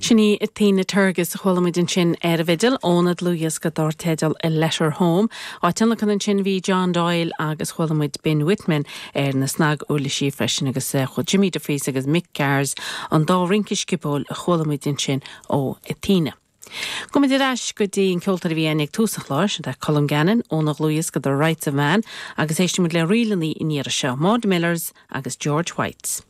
Sin í Athena Turgis a chuala muid ansin ar an bhfidil óna dlúthdhiosca dar teideal A Letter Home. Á tionlacan ansin bhí John Doyle agus chuala muid Ben Whitman ar na snaguirlisí freisin agus Jimmy DeFries agus Mick Garris an dá rince sciobóil a chuala muid ansin ó Athena. Gabhfaidh muid ar ais go dtí an ceoltóir a bhí againn ag tús an chláir, sin é Colm Gannon óna dhlúthdhiosca The Rights of Man agus éistfidh muid le ríleanna an iarraidh seo, Maud Millers agus George White.